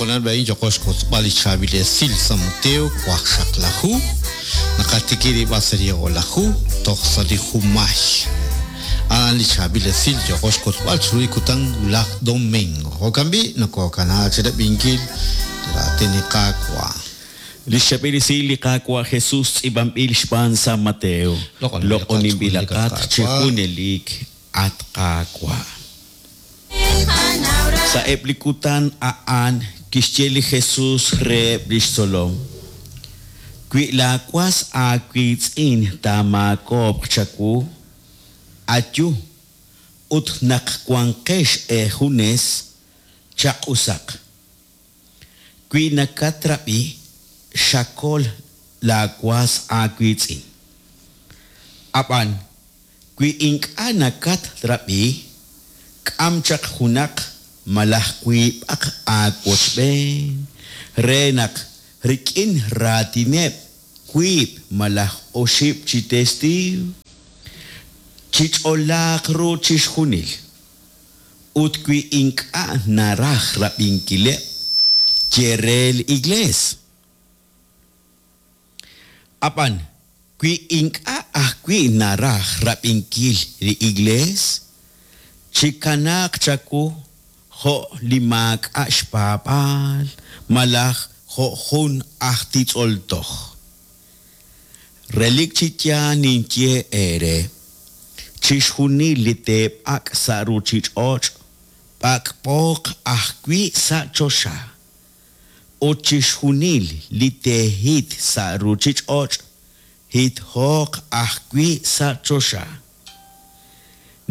jonal a'in yoqo xkotzb'al li chaab'il esil San Mateo waqxaqlaju, naqatikib' rib'al sa' li o'laju toj sa' li junmay. A'an li chaab'il esil yoqo xkotzb'al chiru li kutan wulaj domingo. Jo'kan b'i' nokokana chirab'inkil li raatin li Qaawa'. Li xchaab'il esil li Qaawa' Jesus tz'iib'anb'il xb'aan San Mateo. Loq'oninb'ilaqat chi junelik, at Qaawa'. Sa'eb' li kutan a'an kixye li Jesus reheb' li xtzolom, Wi laawas aawiitz'in taamaakob'q chawu, ayu, ut naq wanqex eejunes, chaq'usaq. Wi nakatrab'i, xakol laawas aawiitz'in. Ab'an wi ink'a' nakatrab'i, k'am chaq junaq malaj wiib'aq aawochb'een re naq rik'in raatineb' wiib' malaj oxib' chi testiiw, chich'olaaq ru chixjunil. Ut wi ink'a' naraj rab'inkileb', ye re li Iklees. Ab'an wi ink'a' ajwi' naraj rab'inkil li Iklees, chikanaaq chawu jo' li maak'a' xpaab'aal malaj jo' jun aj titz'ol toj. Relik chi yaal ninye eere, chixjunil li teeb'ak' sa' ruuchich'och' b'ak'b'ooq ajwi' sa' choxa, ut chixjunil li teehit sa' ruuchich'och' hithooq ajwi' sa' choxa.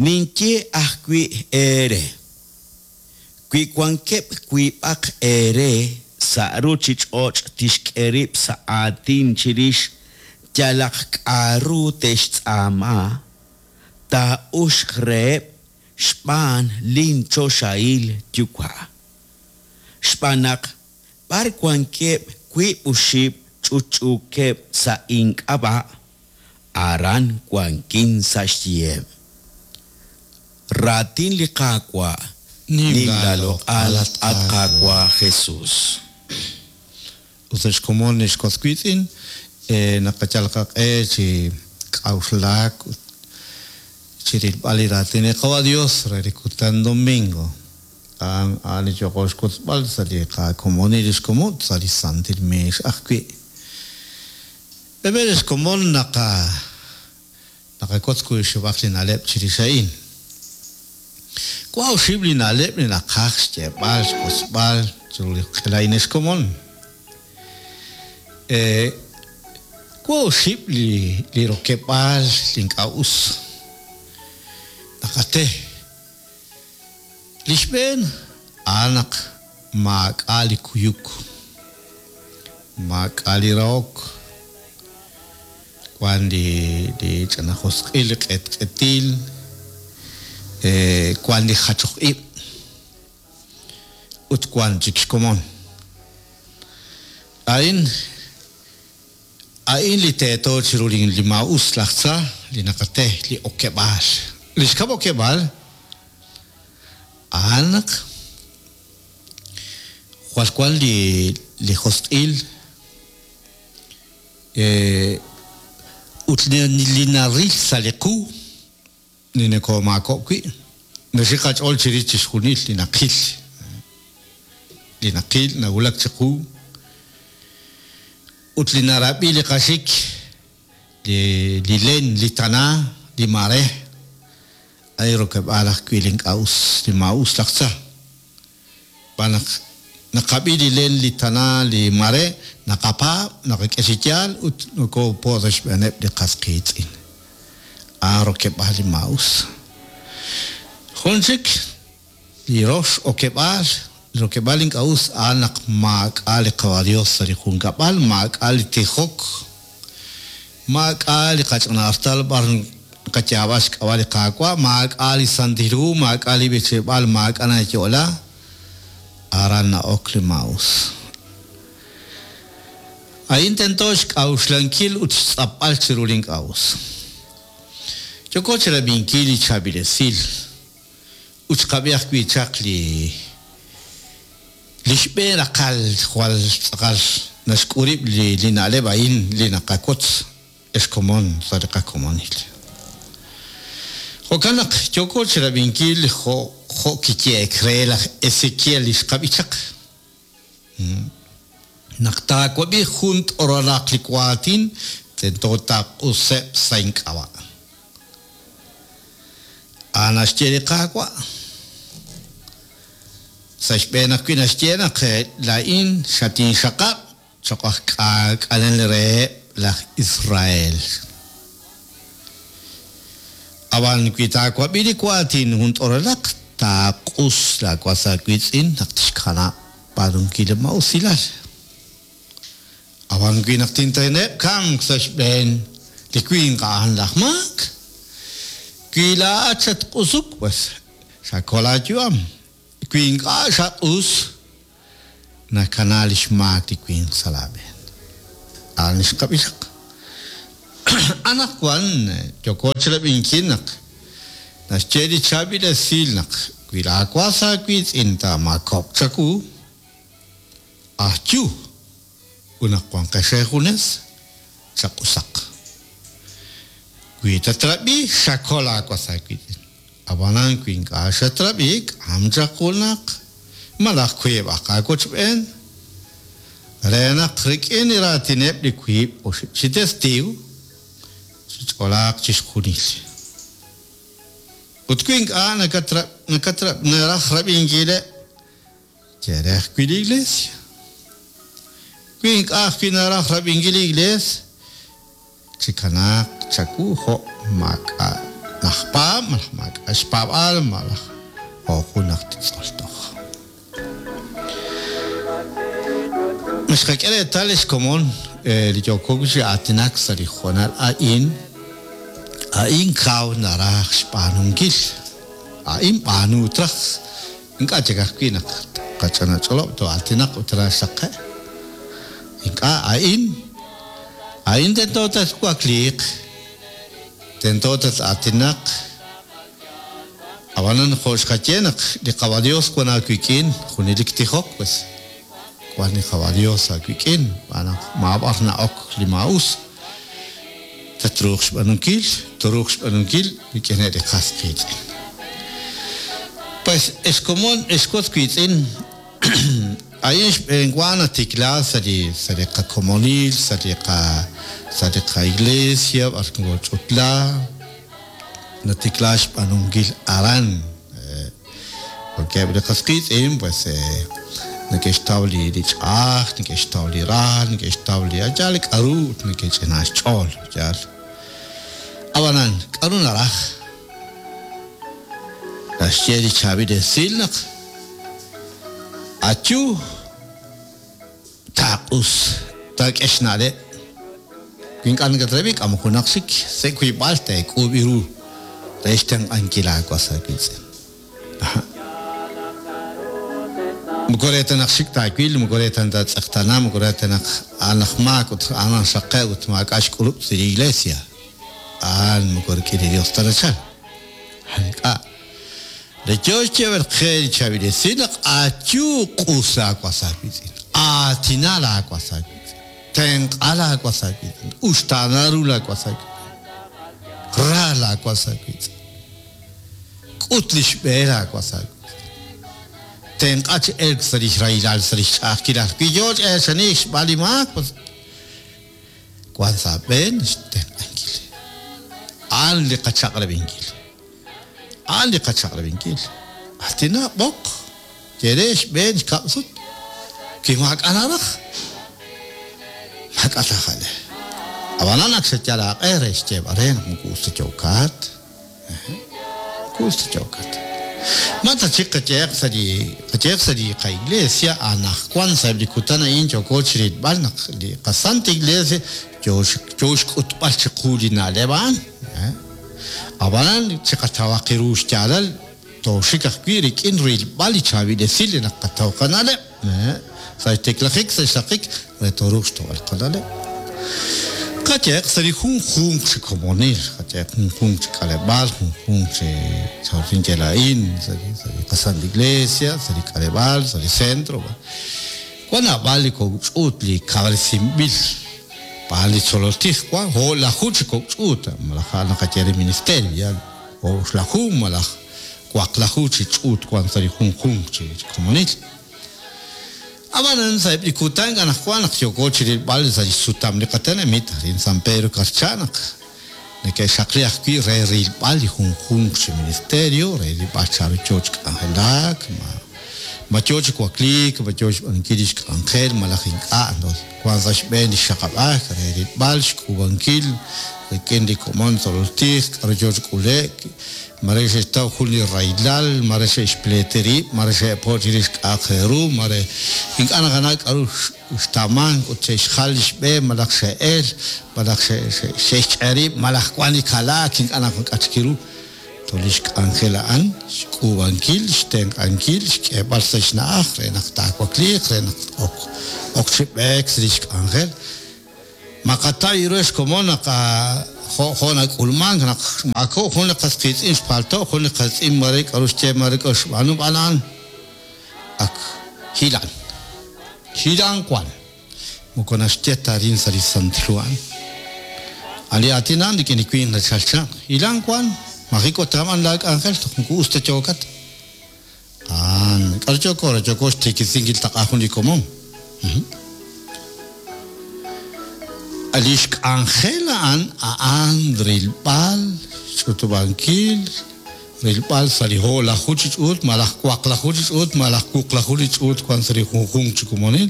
Ninye ajwi' eere, wi wankeb' wiib'aq eere sa' ruuchich'och' tixk'e rib' sa' aatin chirix yalaq k'a'ru te'xtz'aama, taa'uxq reheb' xb'aan linchoxahil Yuwa'. Xb'aan naq b'ar wankeb' wiib' oxib' ch'utch'uukeb' sa' ink'ab'a', aran wankin sa' xyiheb'. Raatin li Qaawa', Nim laaloq'al, at Qaawa' Jesus. Ut sa' xkomon ex was wiitz'in, naqayal qaq'e chi k'a'uxlak ut chi rilb'al li raatin li Qawa' Dios re li kutan domingo. A'an a'an li yooqo xwotzb'al sa' li qakomonil li xkomon sa' li santil meex ajwi'. B'eb'e li xkomon naqa naqawotz wi'xib'aq li na'leb' chirix a'in. Wa' oxib' li na'leb' li naqaj xyeeb'al, xwotzb'al chiru li q'ela a'in ex komon. Wa' oxib' li li rokeb'aal li ink'a' us naqate. Li xb'een, a'an naq maak'a' li kuyuk, maak'a' li rahok, wan li li ch'ina josq'il, li q'etq'etil, wan li jachok ib', ut wan chik xkomon. A'in A'in li teeto chiru li maa'us laj tza li naqate li okeb'aal. Li xkab' okeb'aal a'an naq jwal wan li josq'il ut li naril sa' li qu li nokoomaakob'k wi', naxik qach'ool chirix chixjunil li naqil, li naqil nawulak chiqu ut li narab'i li qaxik, li len, li tana, li mare, a'in rokeb'aal ajwi' li ink'a' us, li maa'us laj tza. Xb'aan naq naqab'i li len, li tana, li mare, naqapaab', naqak'e chi yaal ut nokoopo' sa' xb'eeneb' li qas qiitz'in. A'an rokeb'aal li maa'us. Jun chik, li rox okeb'aal, li rokeb'aal li ink'a' us a'an naq maak'a' li Qawa' Dios sa' li junkab'al, maak'a' li tijok, Maak'a' li qach'ina artal b'ar nqayaab'a xk'ab'a' li Qaawa', maak'a' li Santil Hu, maak'a' li b'icheb'aal, maak'a' nayo'la, aran na'ok li maa'us. A'in tento xk'a'uxlankil ut xtz'apb'al chiru li ink'a' us. Yooko chirab'inkil li chaab'il esil ut xqab'i ajwi' chaq li. Li xb'een raqal jwal tz'aqal naxk'ul rib' li na'leb' a'in li naqawotz ex komon sa' li qakomonil. Jo'kan naq yooko chirab'inkil jo' jo' kiyehe'k re laj Ezequiel li xqab'i chaq. Naq taawab'i jun t'orolaq li waatin, tento taaq'useb' sa' ink'ab'a'. A'an naxye li Qaawa'. Sa' xb'een ajwi' naxye naq laa'in xatinxaqab' cho'q aj k'aak'alenel reheb' laj Israel. Ab'an wi taawab'i li waatin jun t'orolaq, taaq'us laawas aawiitz'in naq tixkanab' b'aanunkil li maa'usilal. Ab'an wi naq tinteneb' kamk sa' xb'een li winq a'an laj maak, wi laa'at xatq'usuk, pues xakol aayu'am. Wi ink'a' xaq'us, nakana li xmaak li winq sa' laab'een. A'an li xqab'i chaq. Anaqwan yooko chirab'inkil naq naxye li chaab'il esil naq wi laawas aawiitz'in taamaakob'q chawu, Ayu, ut naq wanqex eejunes, chaq'usaq. Wi tatrab'i, xakol aawas aawiitz'in. Ab'anan wi ink'a' xatrab'i, k'am chaq junaq malaj wiib'aq aawochb'een, re naq rik'in li raatineb' li wiib' oxib' chi testiiw, chich'olaaq chixjunil. Ut wi ink'a' naraj rab'inkileb', Ye re ajwi' li Iglesia. Wi ink'a' ajwi' naraj rab'inkil li Iglees, chikanaaq chawu jo' maak'a' najpaab' malaj maak'a' xpaab'aal malaj jo' jun aj titz'ol toj. Mixqak'e reetal ex komon li yooko chi aatinak sa' li hoonal a'in, a'in kaw naraj xb'aanunkil, a'in b'aanu traj. Ink'a' chik ajwi' naq tqach'anach'olob' too'aatinaq ut ra xaqe'. Ink'a' a'in, a'in tento tatwakliiq, tento tat-aatinaq. Ab'anan jo' xqaye naq li Qawa' Dios wan aawik'in, junelik tijok pues, wan li Qawa' Dios aawik'in, xb'aan naq maab'ar na'ok li maa'us. Tatruuq xb'aanunkil, tooruuq xb'aanunkil rik'ineb' li qas qiitz'in. Pues, ex komon, ex was wiitz'in, a'in xb'een wa natikla sa' li sa' li qakomonil, sa' li qa sa' li qa-iglesia b'ar nokoch'utla, natikla xb'aanunkil aran. Wankeb' li qas qiitz'in pues neke'xtaw li li ch'a'aj, neke'xtaw li ral, neke'xtaw li yaal k'aru ut neke'ch'ina xch'ool, yaal. Ab'anan, k'aru naraj? Naxye li chaab'il esil naq ayu taaq'us, taak'e xna'leb'. Wi ink'a' nakatrab'i, k'am junaq chik sa' wiib'al teek'uub' ru re xtenq'ankil aawas aawiitz'in. Moko re ta naq xik' taawil, moko re ta taatz'eqtaana, moko re ta naq a'an aj maak ut a'an xaqe' ut maak'a' xk'ulub' sa' li iglesia. A'an moko rik'in li Dios ta nachal. Ink'a'. Li yoo xyeeb'al qe li chaab'il esil naq ayu q'us laawas aawiitz'in, aatina laawas aawiitz'in, tenq'a laawas aawiitz'in, uxtaana ru laawas aawiitz'in, ra laawas aawiitz'in, k'ut li xb'e laawas aawiitz'in, tenq'a chi elk sa' li xrahilal, sa' li xch'a'ajkilal. Wi yoo chi eechaniik xb'aan li maak, wan sa' aab'een xtenq'ankil. A'an li qachaq'rab'inkil. A'an li qachaq'rab'inkil. Aatina, b'oq, ye re xb'een xkab' sut. Wi maak'a' naraj, maak'a' taajale. Ab'anan ak xayal aaq'e re xyeeb'al re naq moko us ta yookat. Moko us ta yookat. Ma ta chik qayehaq sa' li qayehaq sa' li qaiglesia anaqwan sa'eb' li kutan a'in yooko chirilb'al naq li qasanta iglesia yoo yoo xk'utb'al chiqu li na'leb' a'an. Ab'anan chiqatawaq ru xyaalal, tooxik ajwi' rik'in rilb'al li chaab'il esil li naqataw qana'leb' sa' xtiklajik sa' xraqik re tooruuq xtawb'al qana'leb'. Qayehaq sa' li junjunq chi komonil, qayehaq junjunq chi k'aleb'aal, junjunq chi chanru tinye laa'in, sa' li sa' li qasantil iglesia, sa' li k'aleb'aal, sa' li centro, wan naab'al li kok' ch'uut li kawresinb'il xb'aan li tzolol tij, wan o'laju chi kok' ch'uut, malaj a'an naqaye re ministerio, ya oxlaju malaj waqlaju chi ch'uut wan sa' li junjunq chi komonil. Ab'anan, sa'eb' li kutan anaqwan naq yooko chi rilb'al sa' li xsutam li qatenamit arin San Pedro Carchá naq neke'xaqli ajwi' re rilb'al li junjunq chi ministerio re rilb'al chanru yo chi k'anjelak, ma ma yo chi wakliik, ma yo xb'aanunkil li xk'anjel malaj ink'a', wan sa' xb'een li xxaqab'aak re rilb'al xk'uub'ankil rik'in li komon tzolol tij k'aru yo chi k'ule'k. Mare xe'xtaw jun li rahilal, mare xe'xpleeti rib', mare xe'po' chirix k'a'aq re ru, mare ink'a' naqanaw k'a'ru xtawmank ut xe'xjal lix b'e malaj xe'el, malaj xe'xch'e rib', malaj wan li kalaak ink'a' naqak'a chik ru. To lix k'anjel a'an, xk'uub'ankil, xtenq'ankil, xk'eeb'al sa' xna'aj re naq taawakliiq, re naq ok ok chi b'eek sa' lix k'anjel. Ma qataw ru xkomon naq jo' jo' nak'ulmank naq maako' jun li qas qiitz'in xpalto', jun li qas qiitz'in mare k'a'ru xye, mare k'a'ru xb'aanu, b'an a'an ak hilan. Hilan wan. Moko naxye ta arin sa' li Santil Hu a'an. A' li aatin a'an rik'in li winq nachal chaq. Hilan wan. Maji' k'otaab'an laa k'anjel, toj moko us ta yookat. A'an, k'a'ru yooko re? Yooko xtiikisinkil taq'a jun li komon. Lix k'anjel a'an, a'an rilb'al, xch'utub'ankil, rilb'al sa' li o'laju chi ch'uut, malaj waqlaju chi ch'uut, malaj wuqlaju li ch'uut wan sa' li junjunq chi komonil,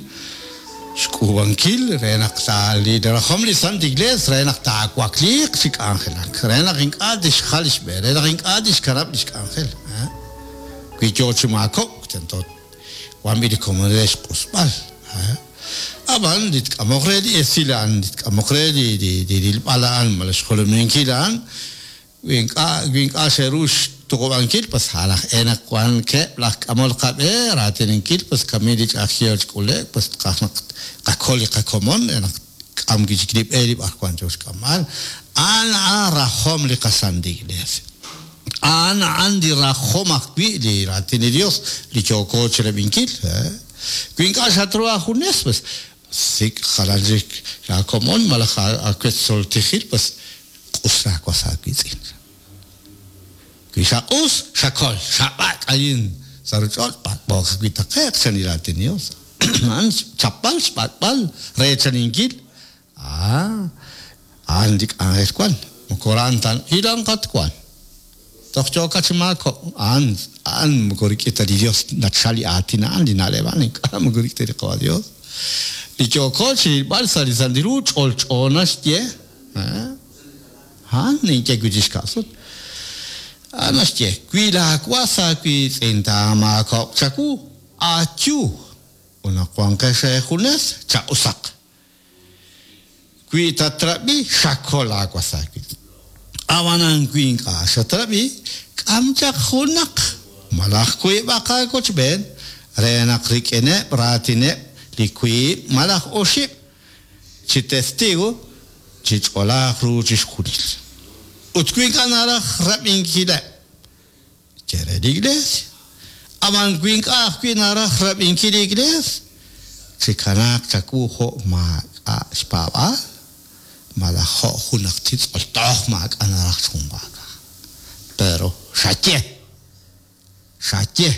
xk'uub'ankil re naq ta li rajom li Santil Iglees re naq taawakliiq chi k'anjelak, re naq ink'a' tixjal lix b'e, re naq ink'a' tixkanab' lix k'anjel. Wi yoo chi maakob'k, tento wan b'i' li komon re xq'usb'al. Ab'an li tk'amoq re li esil a'an, li tk'amoq re li rilb'al a'an malaj xjolominkil a'an, wi ink'a' wi ink'a' xe'ru xtuqub'ankil, pues a'an aj e naq wankeb' laj k'amol qab'e raatinankil, pues kami li ch'a'ajkilal xk'ule'k, pues tqaj naq tqakol li qakomon re naq tk'am wi' chik li b'e li b'arwan yo xk'amb'al. A'an a'an rajom li qasantil Iglees. A'an a'an li rajom ajwi' li raatin li Dios li yooko chirab'inkil. Wi ink'a' xatru aajunes, pues sik' jalan chik laakomon malaj aawetzol tijil, pues q'us laawas aawiitz'in. Wi xaq'us, xakol, xab'ak' arin sa' ruuchich'och', b'ak'b'ook ajwi' taqe'q, chan li raatin li Dios. A'an xchapb'al, xb'ak'b'al, reechaninkil. Ah, a'an li k'anjel wan, moko a'an ta hilanqat wan. Toj yookat chi maakob'k, a'an, a'an moko rik'in ta li Dios nachal li aatin a'an, li na'leb' a'an ink'a' moko rik'in ta li Qawa' Dios. Li yooko chi rilb'al sa' li Santil Hu ch'olch'o naxye, a'an ninye wi' chik xka'sut. A'an naxye, wi laawas aawiitz'in taamaakob'q chawu, ayu, ut naq wanqex eejunes, chaq'usaq. Wi tatrab'i, xakol aawas aawib'. Ab'anan wi ink'a' xatrab'i, k'am chaq junaq malaj wiib'aq aawochb'een re naq rik'ineb' raatineb' li wiib' malaj oxib' chi testiiw chich'olaaq ru chixjunil. Ut wi ink'a' naraj rab'inkileb', Ye re li Iglees. Ab'an wi ink'a' ajwi' naraj rab'inkil li Iglees, chikanaaq chawu jo' maak'a' xpaab'aal, malaj jo' jun aj titz'ol toj maak'a' naraj chi junwaakaj. Pero xaye! Xaye!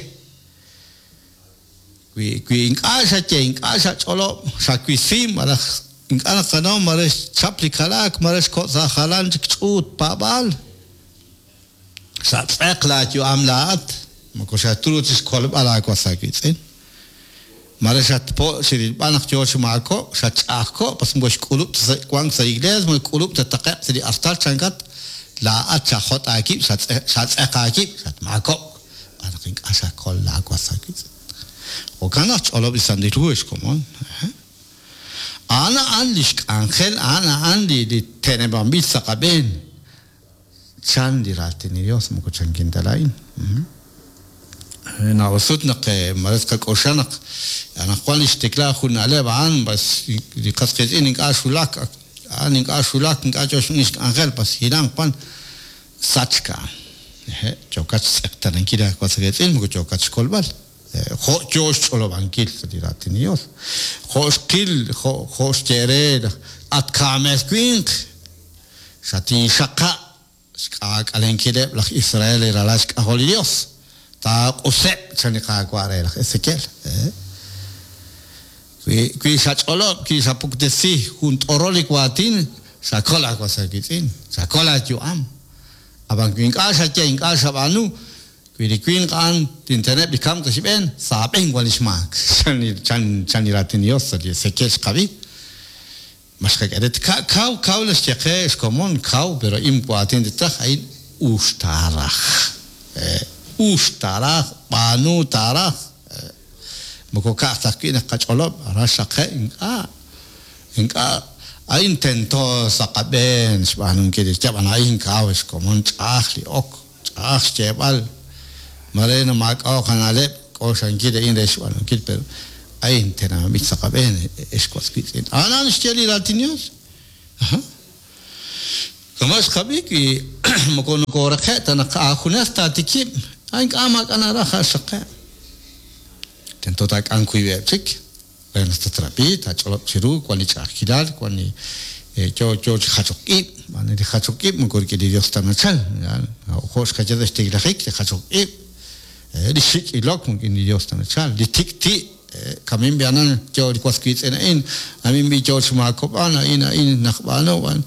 Wi, wi ink'a' xaye, ink'a' xach'olob', xawisi malaj ink'a' naqanaw mare xchap li kalaak, mare xko' sa' jalan chik ch'uut paab'aal, Xatz'eq laayu'am laa'at, moko xatru chi xkolb'al aawas aawiitz'in. Mare xatpo' chi rilb'al naq yoo chi maakob'k, xatch'a'ajko'k, pas moko xk'ulub' ta sa' wank sa' iglees, moko xk'ulub' ta taqe'q sa' li artal chankat, laa'at xajot' aawib', xatz'eq aawib', xatmaakob'k, xb'aan naq ink'a' xakol laawas aawiitz'in. Jo'kan naq ch'olob' li Santil Hu, ex komon. A'an a'an lix k'anjel, a'an a'an li teneb'anb'il sa' qab'een. Chan li raatin li Dios, moko chankin ta laa'in. Naab'al sut naq mare tqak'oxla naq anaqwan li xtikla jun na'leb' a'an bas li qas qiitz'in ink'a' xwulak. A'an ink'a' xwulak, ink'a' yo xb'aanunkil xk'anjel, pas hilanq wan, sachk a'an. Yookat xtz'eqtaanankil laawas aawiitz'in moko yookat xkolb'al. Jo' yo xch'olob'ankil sa' li Raatin li Yos. Jo' xqil, jo' jo' xye re laj at kaamel winq, xatinxaqab' xk'aak'alenkileb' laj Israel li ralal xk'ajol li Yos. Taaq'useb', chan li Qaawa' re laj Ezequiel. Wi, wi xach'olob', wi xapuktesi jun t'orol li waatin, xakol aawas aawiitz'in, xakol aayu'am. Ab'an wi ink'a' xaye, ink'a' xab'aanu, wi li winq a'an tinteneb' li kamk sa' xb'een, sa' aab'een wan li xmaak, chan li, chan, chan li raatin li Yos sa' li Ezequiel xqab'i. Ma xqak'e reetal? Ka, kaw, kaw naxye qe xkomon, kaw, pero a'in moko aatin ta traj, a'in us taaraj. Us taaraj, b'aanu taaraj. Moko ka'aj ta ajwi' naq qach'olob', aran xraqe', ink'a', ink'a', a'in tento sa' qab'een xb'aanunkil li xye, ab'an a'in kaw xkomon, ch'a'aj li ok, ch'a'aj xyeeb'al, mare naq maak'a'o qana'leb' k'oxlankil a'in re xb'aanunkil, pero a'in tenamit sa' qab'een, ex was wiitz'in. A'an a'an xye li raatin Dios. Ajá. Kama' xqab'i wi moko nokooraqe' ta naq aajunes taatikib', a ink'a' maak'a' naraj a' xraqe'. Tento taak'am wiib'eb' chik re naq tatrab'i, taach'olob' chiru wan li ch'a'ajkilal, wan li yo yo chi jachok ib', xb'aan naq li jachok ib' moko rik'in li Dios ta nachal, jo' xqaye sa' xtiklajik li jachok ib', li xik' ilok moko rik'in li Dios ta nachal, li tik'ti'. Kamin b'i anan yo li was wiitz'in a'in, amin b'i yo chi maakob'an, a'in a'in naqb'aanu b'an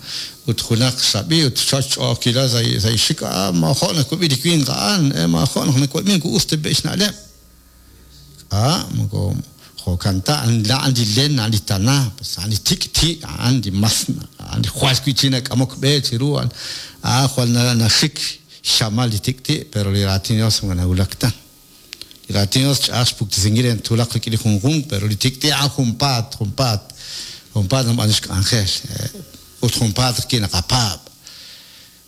ut junaq xrab'i ut xchal xch'o'ojkilal sa' sa' xxik, ah maajo' nawab'i li winq a'an, maajo' naq nawab'i moko us ta pe' xna'leb'. Ah moko jo'kan ta, a'an li len, a'an li tana, pues a'an li tik'ti', a'an li mas, a'an li jwal wi'chik nak'amok b'e chiru, a'an jwal naxik xxamal li tik'ti', pero li raatin Dios moko nawulak ta. Li raatin Dios ch'a'aj xpuktesinkil re naq twulaq rik'in li junjunq, pero li tik'ti' a'an junpaat, junpaat, junpaat nab'aanu xk'anjel, ut junpaat rik'in naqapaab'.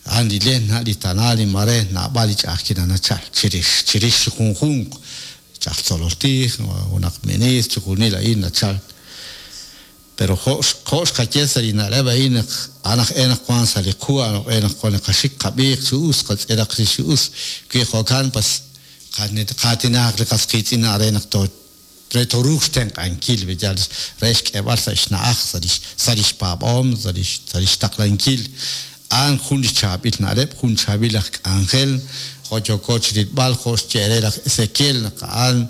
A'an li len, a'an li tana, li mare naab'al li ch'a'ajkilal nachal chirix, chirix li junjunq, ch'a'aj tzolol tij, junaq ministro, chixjunil a'in nachal. Pero jo' jo' xqaye sa' li na'leb' a'in naq a'an aj e naq wank sa' li qu, a'an aj e naq wank li qaxik, qab'iiq chi us, qatz'ilaq rix chi us. Wi jo'kan, pas qaatinahaq li qas qiitz'in a'an re naq too re tooruuq xtenq'ankil, yal re xk'eeb'al sa' xna'aj, sa' lix sa' lix paab'ahom, sa' lix sa' lix taqlankil. A'an jun li chaab'il na'leb', jun chaab'il aj k'anjel, jo' yooko chirilb'al, jo' xye re laj Ezequiel naq a'an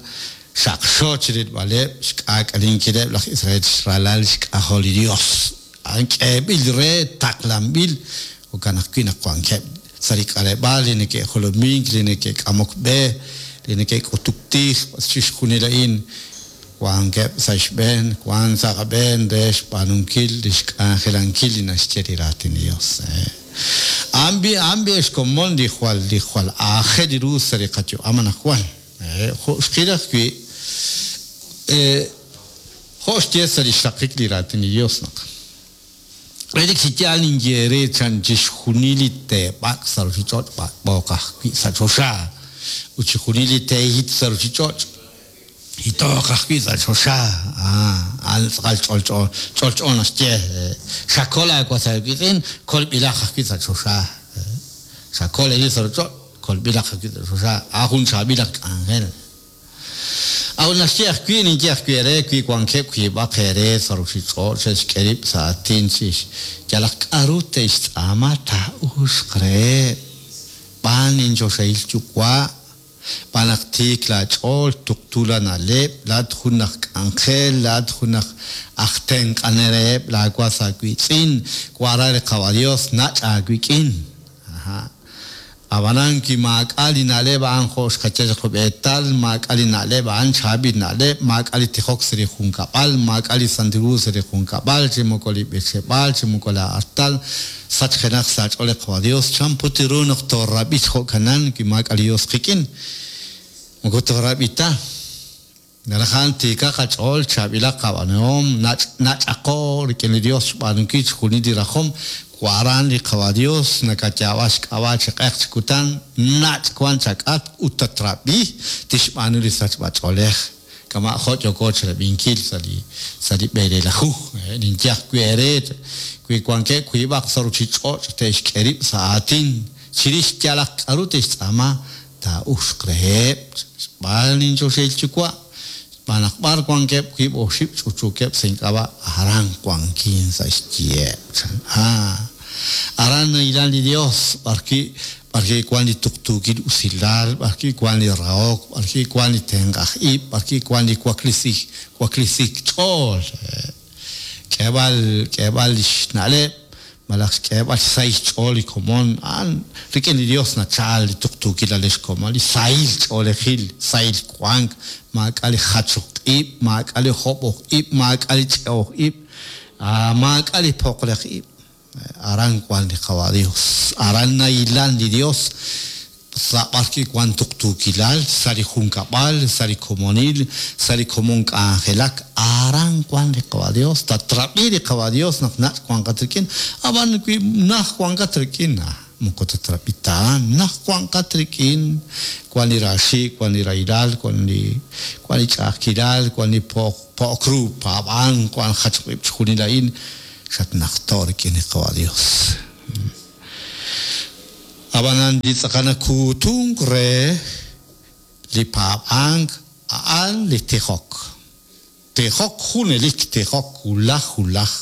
Xaqxo chi rilb'aleb' xk'aak'alenkileb' laj Israel xralal xk'ajol li Yos. A'an k'eeb'il re, taqlanb'il, jo'kan ajwi' naq wankeb' sa' li k'aleb'aal li neke'jolomink, li neke'k'amok b'e, li neke'k'utuk tij, chixjunil a'in wankeb' sa' xb'een, wank sa' qab'een re xb'aanunkil li xk'anjelankil li naxye li Raatin li Yos. A'an b'i', a'an b'i' xkomon li jwal, li jwal aajel ru sa' li qayu'am anaqwan. Jo' xqil ajwi', jo' xye sa' li xraqik li Raatin li Yos naq, Relik chi yaal ninye eere chan chixjunil li teeb'ak' sa' ruuchich'och' b'ak'b'ooq ajwi' sa' choxa, ut chixjunil li teehit sa' ruuchich'och' hitooq ajwi' sa' choxa. A'an tz'aqal ch'olch'o ch'olch'o naxye, Xakol aawas aawiitz'in, kolb'ilaq ajwi' sa' choxa. Xakol eerib' sa' ruuchich'och'. Kolb'ilaq ajwi' sa' choxa, a'an jun chaab'il aj k'anjel. A'ut naxye ajwi', ninye ajwi' eere, wi wankeb' wiib'aq eere sa' ruuchich'och' xe'xk'e rib' sa' aatin chix yalaq k'aru te'xtz'aama taa'uxq reheb' b'aan linchoxahil Yuwa', xb'aan naq tiik laach'ool, tuqtu laana'leb', laa'at jun aj k'anjel, laa'at jun aj tenq'anel reheb' laawas aawiitz'in, wara li Qawa' Yos nach' aawik'in. Ab'anan wi maak'a' li na'leb' a'an jo' xqaye chaq rub'eetal, maak'a' li na'leb' a'an chaab'il na'leb', maak'a' li tijok sa' li junkab'al, maak'a' li Santil Hu sa' li junkab'al, chi moko li b'icheb'aal, chi moko laa artal, sachjenaq sa' aach'ool li Qawa' Dios. Chan put ru naq toorab'i chi jo'kanan wi maak'a' li Dios qik'in? Moko toorab'i ta. Naraj a'an tiikaq qach'ool, chaab'ilaq qab'aanuhom, nach' nach'aqo rik'in li Dios xb'aanunkil chixjunil li rajom, waran li Qawa' Dios nakayaab'a xk'ab'a' chi q'eq chi kutan, nach' wank chak'atq ut tatrab'i, tixb'aanu li sachb'a-ch'oolej. Kama' jo' yooko chirab'inkil sa' li sa' li b'eleelaju. Ninye ajwi' eere, wi wankeb' wiib'aq sa' ruuchich'och' te'xk'e rib' sa' aatin chirix yalaq k'aru te'xtz'aama, taa'uxq reheb' xb'aan linchoxahil Yuwa', xb'aan naq b'ar wankeb' wiib' oxib' ch'utch'uukeb' sa' ink'ab'a', aran wankin sa' xyiheb', chan. Ah, aran nahilan li Yos, b'arwi' b'arwi' wank li tuqtuukil usilal, b'arwi' wank li rahok, b'arwi' wank li tenq'aj ib', b'arwi' wank li waklesij waklesik ch'ool, k'eeb'al k'eeb'al li xna'leb' malaj xk'eeb'al xsahil xch'ool li komon, a'an rik'in li Yos nachalk li tuqtuukilal re xkomon, li sahil ch'oolejil, sahil wank, maak'a' li jachok ib', maak'a' li hob'ok ib', maak'a' li ch'e'ok ib', maak'a' li poqlej ib'. Aran wank li Qawa' Yos, aran nahilank li Yos sa' b'arwi' wank tuqtuukilal, sa' li junkab'al, sa' li komonil, sa' li komon k'anjelak, aran wank li Qawa' Yos. Tatrab'i li Qawa' Yos naq nach' wanqat rik'in, ab'an wi najt wankat rik'in, moko tatrab'i ta, najt wanqat rik'in, wank li raaxiik', wank li rahilal, wank li wank li ch'a'ajkilal, wank li po'ok ru paab'ank, wank jachok ib' chixjunil a'in. Xatnajto' rik'in li Qawa' Dios. Ab'anan li tz'aqal nakuutunk re li paab'ank a'an li tijok. Tijok junelik, tijok wulaj wulaj.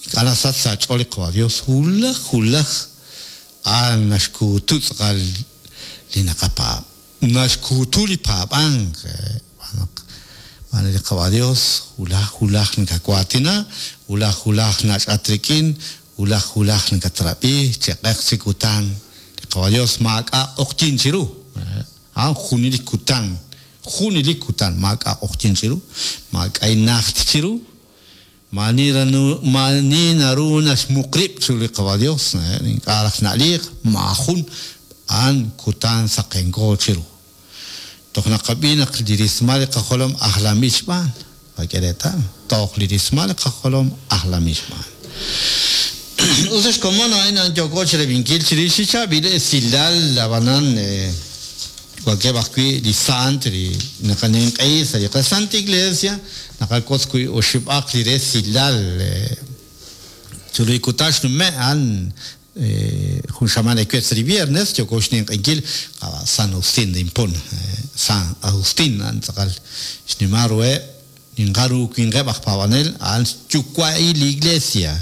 Ink'a' nasach sa' aach'ool li Qawa' Dios wulaj wulaj. A'an naxkuutu tz'aqal li naqapaab'. Naxkuutu li paab'ank. Xb'aan naq xb'aan li Qawa' Dios wulaj wulaj nakawaatina, wulaj wulaj nach'at rik'in, wulaj wulaj nakatrab'i chi q'eq chi kutan. Li Qawa' Dios maak'a' q'oqyink chiru. A'an junelik kutan, junelik kutan maak'a' q'oqyink chiru, maak'a' najt chiru. Maa'ani maa'ani naru naxmuq rib' chiru li Qawa' Dios, ink'a' raj na'liiq, maajun, a'an kutan saqenko chiru. Toj naqab'i naq li rismal li qajolom ajlanb'il xb'aan. Qak'e reetal, toj li rismal li qajolom ajlanb'il xb'aan. Us ex komon, a'in a'an yooko chirab'inkil chirix li chaab'il esilal, ab'anan wankeb' ajwi' li saant li naqaninq'ehi sa' li qaSanta Iglesia, naqawotz wi' oxib'aq li resilal chiru li kutan xnume' a'an jun xamaan ewer sa' li viernes yooko xninq'ehinkil San Agustín de Hipona, San Agustín a'an tz'aqal xnimal ruheb' ninqal ru winqeb' aj paab'anel a'an xyuwa'il li Iglesia,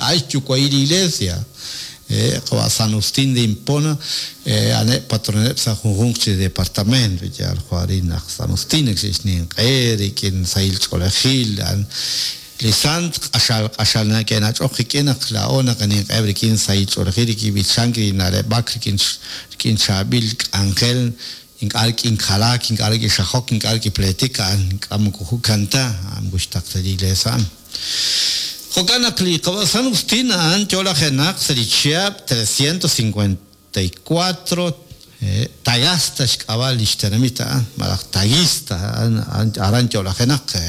a'an xyuwa'il li Iglesia. Qawa' San Agustín de Hipona a'aneb' patroneb' sa' junjunq chi departamento, yaal jo' arin aj San Agustín neke'xninq'e rik'in sahil ch'oolejil, a'an li sant q'axal q'axal neke'nach'ok qik'in naq laa'o naqaninq'eheb' rik'in sahil ch'oolejil, rik'in b'ichank, rik'in na'leb'ak, rik'in rik'in chaab'il k'anjel, Ink'a' rik'in kalaak, ink'a' rik'in xajok, ink'a' rik'in pleetik, a'an ink'a' moko jo'kan ta, a'an moko xtaql ta li Iglees a'an. Jo'kan naq li qawa' San Agustin a'an yo'lajenaq sa' li chihab' 354, Tagasta xk'ab'a' lix tenamit a'an, malaj Tagista, a'an aran yo'lajenaq,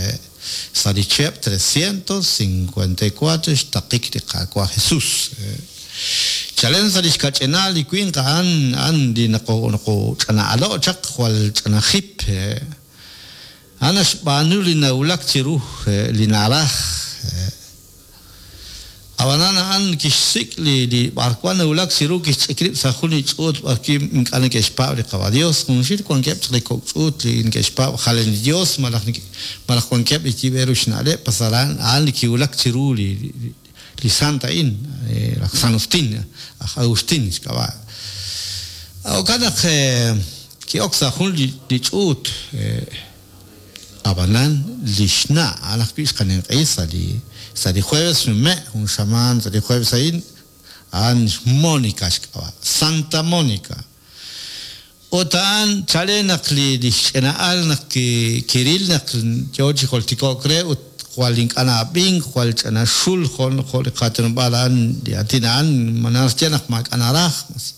sa' li chihab' 354 xtaqik li Qaawa' Jesus. Chalen sa' lix kach'inal li winq a'an, a'an li nokoch'ana'alo' chaq, jwal ch'ina jip. A'an naxb'aanu li nawulak chiru, li naraj. Ab'anan a'an kixsik' li li b'arwan nawulak chiru, kixch'ik rib' sa' jun li ch'uut b'arwi' ink'a' neke'xpaab' li Qawa' Dios. Junxil wankeb' chaq li kok' ch'uut li neke'xpaab' jalan li Dios malaj malaj wankeb' li yib'eb' ru xna'leb', pas aran a'an li kiwulak chiru li Li sant a'in, laj San Agustín, aj Agustín xk'ab'a'. Jo'kan naq ki'ok sa' jun li ch'uut, ab'anan li xna' a'an ajwi' xqaninq'ehi sa' li sa' li jueves xnume' jun xamaan sa' li jueves a'in, a'an xMonica xk'ab'a', Santa Monica. Ut a'an chalen naq li lix ch'ina al naq kiril naq yoo chi joltiko'k re ut jwal ink'a' na'ab'ink, jwal ch'ina xul jo' jo' li qaatinob'aal a'an, li aatin a'an ma naxye naq maak'a' naraj, mas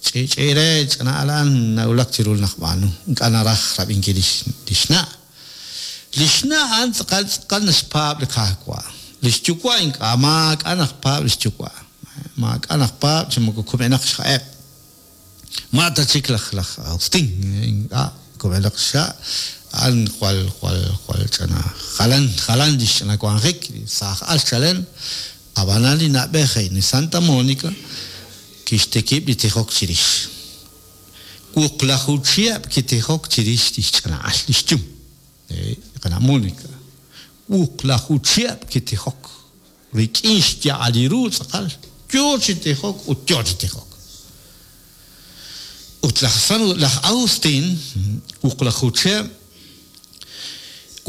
ch'i'ch'i' re ch'ina al a'an nawulak chiru li naqb'aanu, ink'a' naraj rab'inkil lix lix na'. Lix na' a'an tz'aqal tz'aqal naxpaab' li Qaawa'. Lix yuwa' ink'a' maak'a' naqpaab' lix yuwa'. Maak'a' naqpaab' chi moko kub'enaq xha'eb'. Ma ta chik laj laj Agustín, ink'a' kub'enaq xha'. A'an jwal jwal jwal ch'ina jalan jalan li xch'ina wanjik li saaj al chalen. Ab'anan li na'b'ej li Santa Mónica kixtikib' li tijok chirix. Wuqlaju chihab' kitijok chirix li xch'ina'al li xyum. Qana' Mónica. Wuqlaju chihab' kitijok. Rik'in xya'al li ru tz'aqal yo chi tijok ut yo chi tijok. Ut laj San laj Agustín wuqlaju chihab'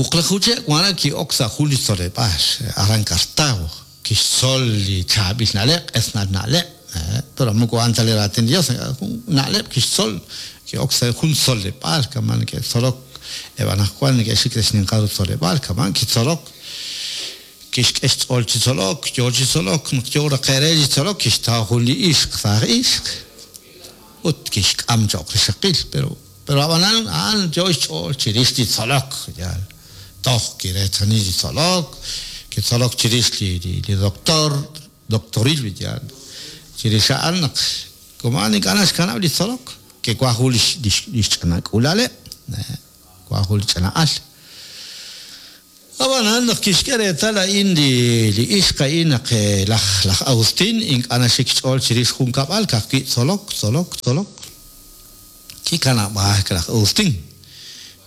wuqlaju chihab' wan aran ki'ok sa' jun li tzoleb'aal aran Cartago kixtzol li chaab'il na'leb' q'esnal na'leb' pero moko a'an ta li raatin li Dios jun na'leb' kixtzol ki'ok sa' jun tzoleb'aal kama' neke'tzolok eb' anaqwan neke'xik sa' xninqal ru tzoleb'aal kama' kitzolok Kixk'e xch'ool chi tzolok, yoo chi tzolok, naq yoo raqe'k re chi tzolok kixtaw jun li ixq, saaj ixq, ut kixk'am cho'q rixaqil, pero pero ab'anan a'an yoo xch'ool chirix li tzolok, yaal, toj kireechani li tzolok, kitzolok chirix li li doctor, doctoril li yaal, chirix a'an naq como a'an ink'a' naxkanab' li tzolok, ke'wan jun lix lix ch'ina k'uula'aleb', wan jun li ch'ina al. Ab'anan, naq kixk'e reetal a'in li ixq a'in naq laj laj Agustín ink'a' naxik xch'ool chirix junkab'al, ka'ajwi' tzolok, tzolok, tzolok. Kikanab'aak laj Agustín.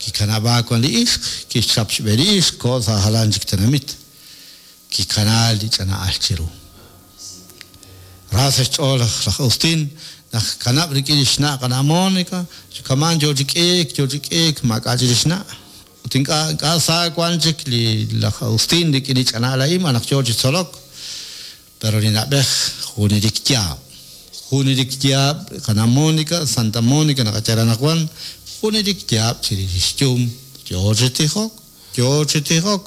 Kikanab'aak wan li ixq, kixchap xb'e li ixq, koho sa' jalan chik tenamit. Kikanaak li ch'ina'al chiru. Ra sa' xch'ool laj Agustín naq xkanab' rik'in li xna' qana' Mónica, chi kama'an yo chi k'iik, yo chi k'iik, maak'a' chik li xna'. Ut ink'a' ink'a' sa wank chik li laj Agustín rik'in li ch'ana'al a'in xb'aan naq yoo chi tzolok. Pero li na'b'ej junelik yaab'. Junelik yaab' qana' Mónica, Santa Mónica naqaye re anaqwan, junelik yaab' chirix li xyum. Yoo chi tijok, yoo chi tijok.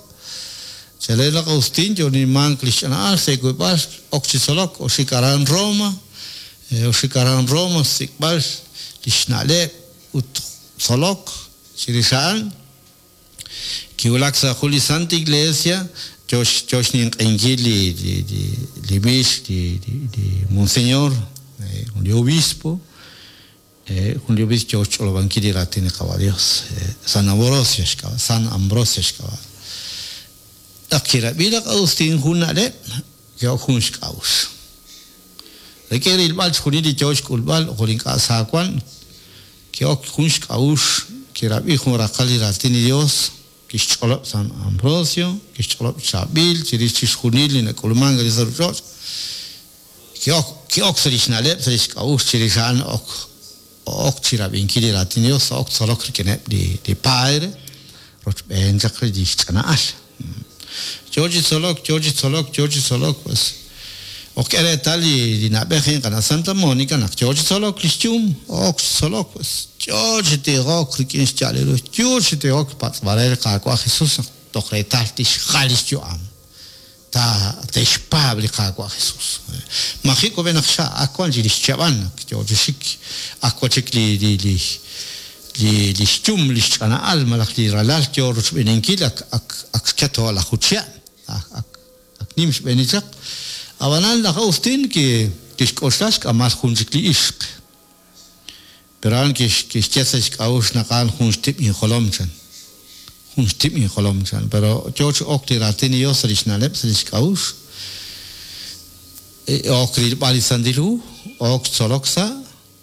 Chalen laj Agustín yoo nimank li xch'ana'al sa' wiib'al ok chi tzolok, oxik aran Roma, oxik aran Roma xsik'b'al li xna'leb' ut tzolok. Chirix a'an, kiwulak sa' jun li Santa Iglesia, yo yo xninq'ehinkil li li li miix li li Monseñor, jun li obispo, jun li obispo yo xch'olob'ankil li raatin li Qawa' Dios, San Ambrosio xk'ab'a', San Ambrosio xk'ab'a'. Naq kirab'i laj Agustín jun na'leb', ki'ok jun xk'a'uxl. Rik'in rilb'al chixjunil li yo xk'ulb'al jo' li ink'a' sa wan, Ki'ok jun xk'a'uxl, kirab'i jun raqal li raatin li Dios, kixch'olob' San Ambrosio, kixch'olob' chaab'il chirix chixjunil li nak'ulmank arin sa' ruuchich'och'. Ki'ok, ki'ok sa' lix na'leb', sa' lix k'a'uxl chirix a'an ok, ok chirab'inkil li raatin li Dios, ok tzolok rik'ineb' li, li padre, rochb'een chaq lix ch'ana'al. Yoo chi tzolok, yoo chi tzolok, yoo chi tzolok, pues, ok k'e reetal li li na'b'ej a'in qana' Santa Mónica naq yoo chi tzolok lix yum, ok chi tzolok, pues, yoo chi tijok rik'in xya'al li ru, yoo chi tijok xpatz'b'al re li Qaawa' Jesus naq toj reetal tixjal lix yu'am, ta te'xpaab' li Qaawa' Jesus. Maji' kub'enaq xha', ak wan chik lix chihab' naq yoo chi xik, ak wan chik li li li Li li xyum, li xch'ana'al malaj li ralal yoo rochb'eeninkil ak ak ak xket o'laju chihab', ak ak ak nim xb'eenil chaq. Ab'anan laj Agustín ki kixk'oxla xk'amal jun chik li ixq. Pero a'an kix kixye sa' xk'a'uxl naq a'an jun xtib' injolom chan. Jun xtib' injolom chan. Pero yoo chi ok li raatin li Dios sa' lix na'leb' sa' lix k'a'uxl. Ok rilb'al li Santil Hu, ok xtzolok sa',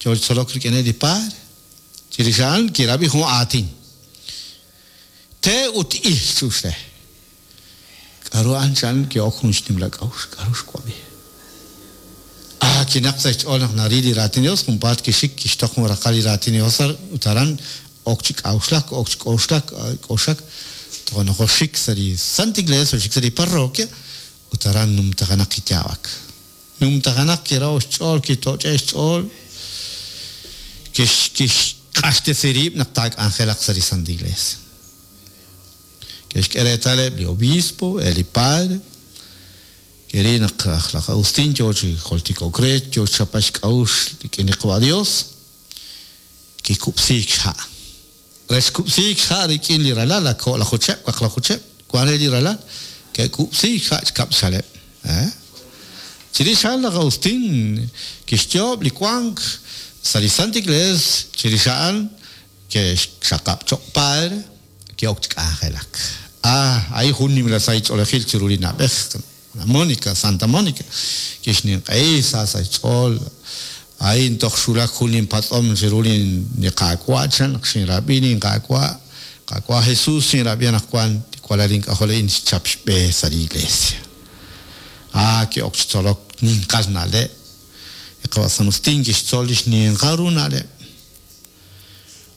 yoo chi tzolok rik'ineb' li paar. Chirix a'an kirab'i jun aatin, Te ut il chux re. K'aru a'an chan ki'ok jun xnimla k'a'uxl, k'aru xwab'i. Ah, kinaq sa' xch'ool naq naril li raatin Dios, junpaat kixik kixtoq jun raqal li raatin Dios ut aran ok chi k'a'uxlak, ok chi k'oxlak, k'oxlak, toja' naq oxik sa' li Santa Iglesia, oxik sa' li parroquia ut aran numtajenaq kiyaab'ak. Numtajenaq kiraho' xch'ool, kitoch'e' xch'ool, kixq'axtesi rib' naq taak'anjelaq sa' li Santa Iglesia. Ke'xk'e reetal eb' li obispo, eb' li padre, ke'ril naq laj Agustín yoo chi joltikok re, yoo xchapb'al xk'a'uxl rik'in li Qawa' Dios, kikub'siik xha'. Re xkub'siik xha' rik'in li ralal, ak o'laju chihab', waqlaju chihab', wank re li ralal, ke'kub'siik xha' xkab'chaleb'. Chirix a'an laj Agustín kixyoob' li wank sa' li Santa Iglees, chirix a'an ke'xxaqab' choq' padre. Ki'ok chi k'anjelak. A'in jun nimla sahil ch'oolejil chiru li na'b'ej, Mónica, Santa Mónica, kixninq'ehi sa sa' xch'ool. A'in toj xwulak jun linpatz'om chiru li Qaawa', chan naq xinrab'i linQaawa', Qaawa' Jesus, xinrab'i anaqwan li walal ink'ajol a'in xchap xb'e sa' li Iglesia. Ki'ok chi tzolok ninqal na'leb'. Li Qawa' San Agustín kixtzol li xninqal ru na'leb'.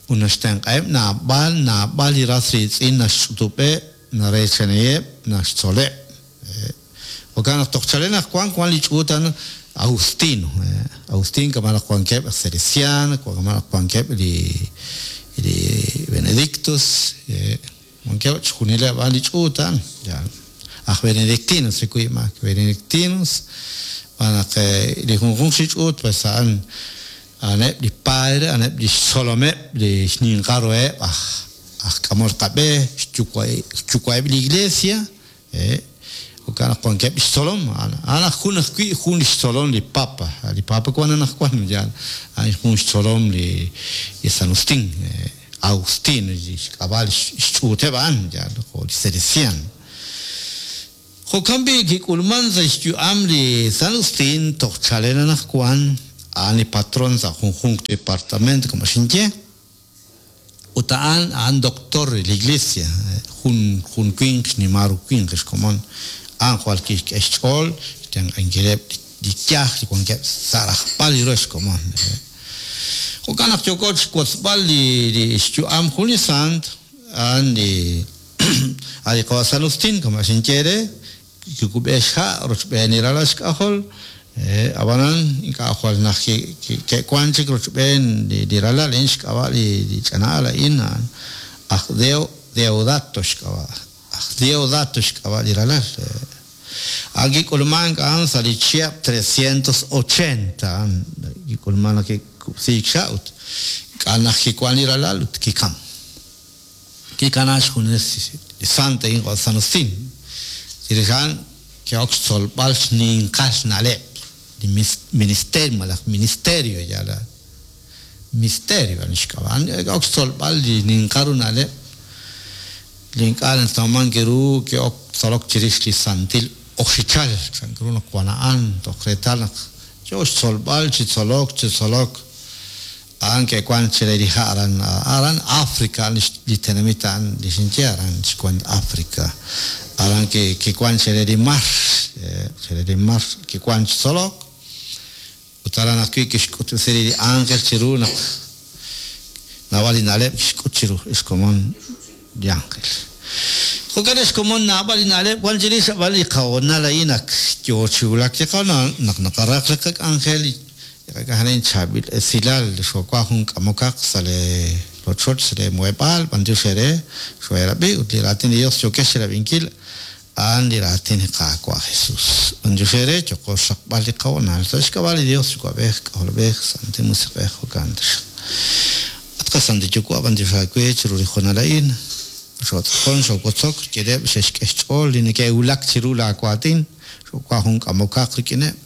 Ut naxtenq'aheb' naab'al naab'al li ras riitz'in naxch'utub'eb', nareechaniheb', naxtzoleb'. Jo'kan naq toj chalen anaqwan wan li ch'uut a'an Agustino. Agustín kama' naq wankeb' aj Salesiano, kama' naq wankeb' li li Benedictos, wankeb' chixjunileb' a'an li ch'uut a'an. Aj Benedictinos li wiib' Benedictinos, xb'aan naq li junjunq chi ch'uut pues a'an A'aneb' li padre, a'aneb' li xtzolomeb' li xninqal ruheb' aj aj k'amol qab'e, xyuwa'eb' li Iglesia, jo'kan naq wankeb' li xtzolom, a'an aj jun ajwi' jun li xtzolom li Papa, li Papa wan anaqwan, yaal, a'an jun xtzolom li San Agustín, Agustín li xk'ab'a' li xch'uuteb' a'an, yaal, jo' li Salesiano. Jo'kan b'i' kik'ulman sa' xyu'am li San Agustín toj chalen anaqwan, a'an li patron sa' junjunq departamento kama' xinye, ut a'an a'an doctor re li Iglesia, jun jun winq xnimal ru winq xkomon, a'an jwal kixk'e xch'ool xtenq'ankileb' li yaj li wankeb' sa' rajb'al li ru xkomon. Jo'kan naq yooko chixwotzb'al li xyu'am jun li sant, a'an li A' li qawa' San Agustín, kama' xinye eere, kikub'e xha' rochb'een li ralal xk'ajol, ab'anan ink'a' jwal naj ke'wank chik rochb'een li ralal, a'in xk'ab'a' li ch'ana'al a'in, a'an aj Deodato xk'ab'a', aj Deodato xk'ab'a' li ralal. A'an kik'ulmank a'an sa' li chihab' 380, a'an kik'ulmank naq kikub'siik xha' ut ink'a' naj kiwank li ralal ut kikam. Kikana xjunes li sant a'in jo' San Agustín. Chirix a'an ke'ok xtzolb'al xninqal na'leb', li ministerio malaj ministerio yaal misterio a'an xk'ab'a'. Ke'ok xtzolb'al li ninqal ru na'leb' li ink'a' natawmank ru, ke'ok tzolok chirix li santil oxichal, chank ru naq wan a'an toj reetal naq yoo xtzolb'al chi tzolok chi tzolok. A'an ke'wank chire li ha' aran aran Africa, a'an li tenamit a'an li xinye aran xwank Africa. Aran kiwank chire li mar, chire li mar kiwank chi tzolok ut aran ajwi' kixk'utb'esi li ánjel chiru naq naab'al li na'leb' kixk'ut chiru xkomon li ánjel. Jo'kan naq xkomon naab'al li na'leb' wan chirix, ab'an li qahoonal a'in ak yoo chi wulak li qahoonal naq naqaraq li qak'anjel, li qak'anjel a'in chaab'il esilal, li xoowank jun k'amokaq sa' lee rochoch, sa' lee muheb'aal, b'antiox eere xooheerab'i ut li raatin li Dios yookex chirab'inkil, a'an li raatin li Qaawa' Jesus. B'antiox eere, yooqo xraqb'al li qahoonal sa' xk'ab'a' li Dios Yuwa'b'ej, K'ajolb'ej, Santil Musiq'ej, jo'kan taxaq. At qaSantil Yuwa', b'antiox aawe chiru li hoonal a'in, xootz'aqon, xoowotzok rik'ineb' xe'xk'e xch'ool li neke'wulak chiru laa waatin, xoowank jun k'amokaq rik'ineb'.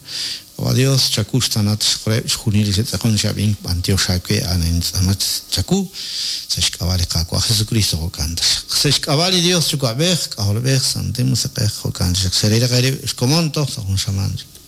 Qawa' Dios, chawu xtana tixqoreb' chixjunil li xe'tz'aqon xe'ab'ink, b'antiox aawe a'an nintz'aama chawu, sa' xk'ab'a' li Qaawa' Jesukristo, jo'kan taxaq. Sa' xk'ab'a' li Dios Yuwa'b'ej, K'ajolb'ej, Santil Musiq'ej, jo'kan taxaq. Xe'reeq eerib' xkomon toj sa' jun xamaan chik.